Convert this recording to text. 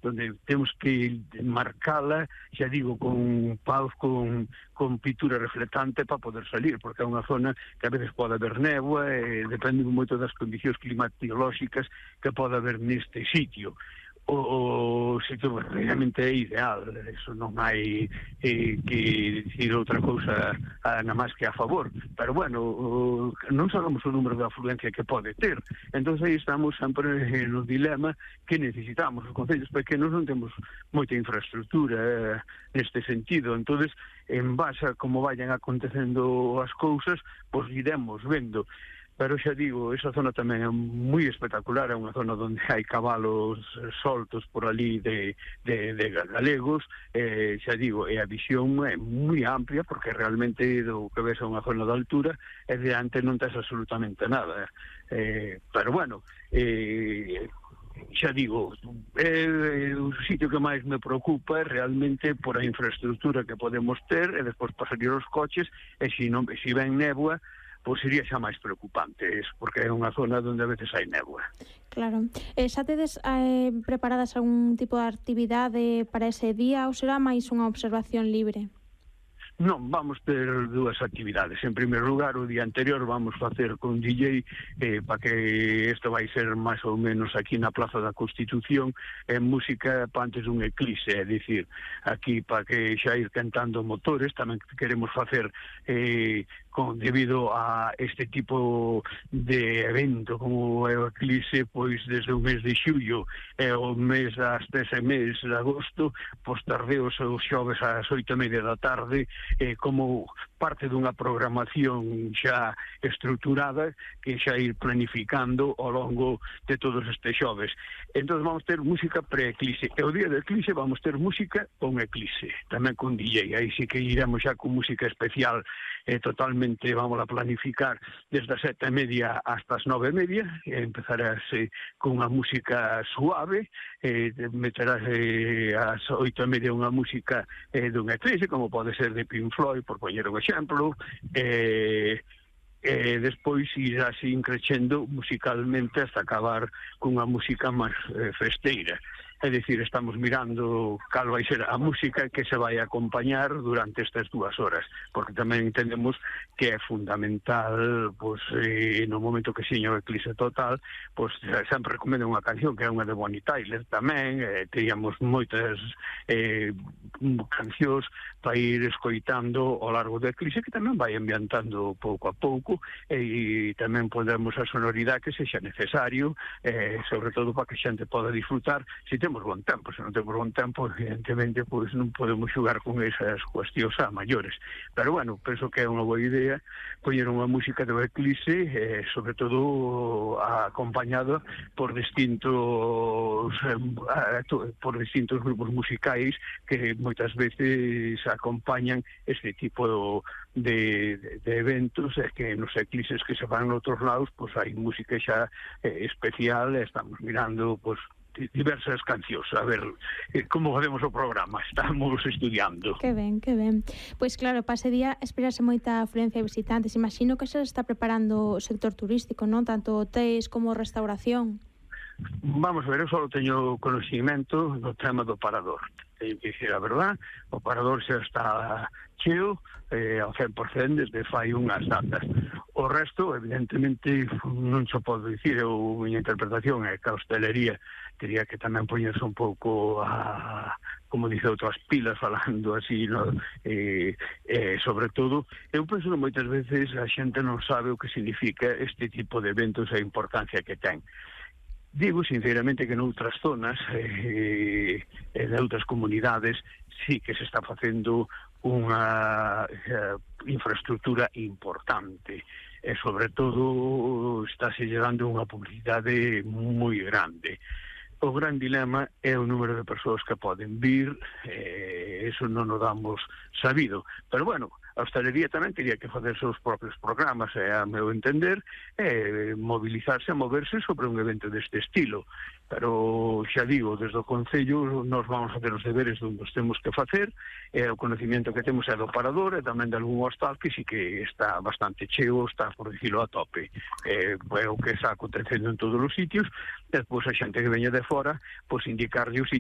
donde temos que marcala, xa digo, con paus, con pintura reflectante para poder salir, porque é unha zona que a veces pode haber néboa, depende moito das condicións climatolóxicas que pode haber neste sitio. O sitio realmente é ideal, eso non hai que dicir outra cousa nada máis que a favor, pero bueno, non sabemos o número de afluencia que pode ter, entón aí estamos sempre no dilema que necesitamos. Os concellos pequenos non temos moita infraestructura neste sentido, entón en base a como vayan acontecendo as cousas, pois iremos vendo. Pero xa digo, esa zona tamén é moi espectacular, é unha zona onde hai cabalos soltos por ali de galegos, xa digo, e a visión é moi amplia, porque realmente do que ves a unha zona de altura, e de antes non tes absolutamente nada. Pero bueno, xa digo, o sitio que máis me preocupa é realmente por a infraestructura que podemos ter, e despois para salir os coches, e se ven néboa, pois sería xa máis preocupante, porque é unha zona onde a veces hai néboa. Claro. Xa tedes preparadas algún tipo de actividade para ese día ou será máis unha observación libre? Non, vamos ter dúas actividades. En primeiro lugar, o día anterior vamos facer con DJ para que isto vai ser máis ou menos aquí na Plaza da Constitución, música para antes dun eclipse, é dicir, aquí para que xa ir cantando motores. Tamén queremos facer debido a este tipo de evento como é o eclipse, pois desde o mes de xullo e o mes hasta ese mes de agosto, pois tardeos os xoves ás 8:30 da tarde, como parte dunha programación xa estruturada que xa ir planificando ao longo de todos estes xoves. Entón vamos ter música pre-eclipse, e o día do eclipse vamos ter música con eclipse, tamén con DJ. Aí sí que iremos xa con música especial, totalmente, vamos a planificar desde as 7:30 hasta as 9:30, empezarase con unha música suave, meterase ás 8:30 unha música dun eclipse, como pode ser de Pink Floyd, por poñer un exemplo, despois irá así crecendo musicalmente hasta acabar cunha música máis festeira. É dicir, estamos mirando cal vai ser a música que se vai acompañar durante estas 2 horas, porque tamén entendemos que é fundamental, pois, no momento que seña o eclipse total, pois sempre recomendo unha canción que é unha de Bonnie Tyler tamén, teríamos moitas cancións para ir escoitando ao largo do eclipse, que tamén vai ambientando pouco a pouco, e tamén podemos a sonoridade que sexa necesario, sobre todo para que a xente poda disfrutar, se temos bon tempo. Se non temos bon tempo, evidentemente, pois non podemos xugar con esas cuestións a maiores. Pero, bueno, penso que é unha boa idea poñer unha música do eclipse, sobre todo acompañado por distintos grupos musicais que moitas veces acompañan este tipo de eventos, que nos eclipses que se van a outros lados, pois hai música xa especial, estamos mirando, pois, diversas cancións, a ver como facemos o programa, estamos estudiando. Que ben, que ben. Pois claro, para ese día esperase moita afluencia de visitantes. Imagino que se está preparando o sector turístico, non? Tanto hotéis como restauración. Vamos a ver, eu só teño conocimiento do tema do parador. Teño que dicir a verdad, o parador xa está cheo ao 100% desde fai unhas datas. O resto, evidentemente, non se podo dicir, a miña interpretación é que a hostelería teria que tamén poñerse un pouco como dice outras pilas, falando así, no? Sobre todo, eu penso que moitas veces a xente non sabe o que significa este tipo de eventos e a importancia que ten. Digo sinceramente que noutras zonas, en outras comunidades, sí que se está facendo unha infraestructura importante, e sobre todo estáse dando unha publicidade moi grande. O gran dilema é o número de persoas que poden vir, eso non o damos sabido, pero bueno, a hostelería tamén teria que facer seus propios programas, a meu entender, mobilizarse, moverse sobre un evento deste estilo. Pero xa digo, desde o Concello nos vamos a facer os deberes onde os temos que facer, o conocimiento que temos é do parador e tamén de algún hostal que sí que está bastante cheo, está, por dicilo, a tope. É o que está acontecendo en todos os sitios, e depois a xente que veña de fora, pois indicarlle os sitios